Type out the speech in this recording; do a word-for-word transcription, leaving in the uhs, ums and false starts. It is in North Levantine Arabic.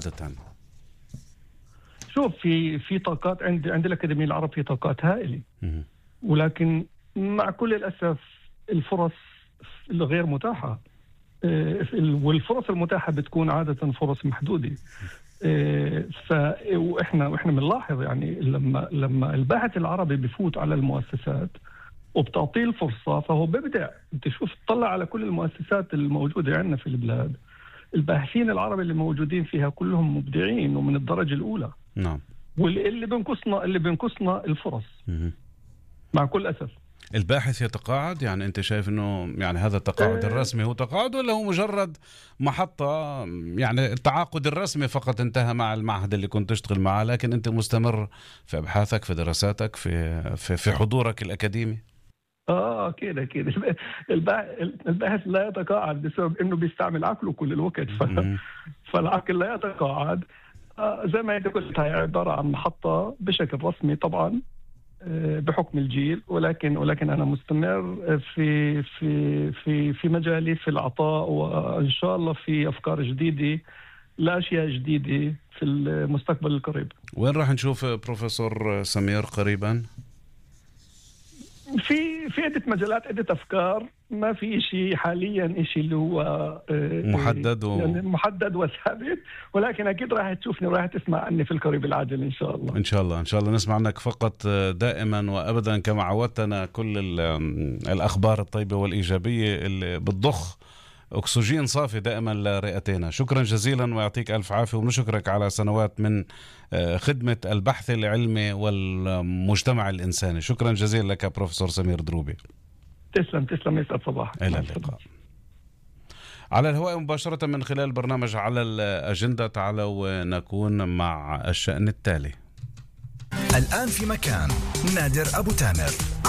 عادة؟ شوف، في في طاقات عند عند الأكاديمية العرب، في طاقات هائلة، ولكن مع كل الأسف الفرص الغير متاحة، والفرص المتاحة بتكون عادة فرص محدودة. ف واحنا واحنا بنلاحظ يعني لما لما الباحث العربي بفوت على المؤسسات وبتعطيه الفرصة فهو بيبدع. انت شوف، تطلع على كل المؤسسات الموجودة عندنا في البلاد، الباحثين العرب اللي موجودين فيها كلهم مبدعين ومن الدرجة الأولى. نعم. واللي بينقصنا اللي بينقصنا الفرص. م- مع كل أسف. الباحث يتقاعد، يعني أنت شايف أنه يعني هذا التقاعد الرسمي هو تقاعد، ولا هو مجرد محطة؟ يعني التعاقد الرسمي فقط انتهى مع المعهد اللي كنت تشتغل معه، لكن أنت مستمر في أبحاثك، في دراساتك، في في, في حضورك الأكاديمي. آه كده كده الباحث لا يتقاعد بسبب إنه بيستعمل عقله كل الوقت. ف... فالعقل لا يتقاعد. آه زي ما أنت قلت، هي عبارة عن محطة بشكل رسمي طبعا بحكم الجيل، ولكن ولكن أنا مستمر في في في في مجالي في العطاء، وإن شاء الله في أفكار جديدة لأشياء جديدة في المستقبل القريب. وين راح نشوف بروفيسور سمير قريبا؟ في في عدة مجالات، عدة أفكار، ما في شيء حاليا شيء اللي هو محدد و... يعني محدد وثابت، ولكن أكيد راح تشوفني وراح تسمع عني في القريب العاجل إن شاء الله. إن شاء الله إن شاء الله نسمع عنك فقط دائما وأبدا، كما عودتنا كل الأخبار الطيبة والإيجابية اللي بتضخ أكسجين صافي دائما لرئتنا. شكرا جزيلا ويعطيك ألف عافية، ونشكرك على سنوات من خدمة البحث العلمي والمجتمع الإنساني. شكرا جزيلا لك بروفيسور سمير دروبي. تسلم تسلم يسعد صباح. إلى اللقاء. على الهواء مباشرة من خلال برنامج على الأجندة. تعالوا نكون مع الشأن التالي. الآن في مكان نادر أبو تامر.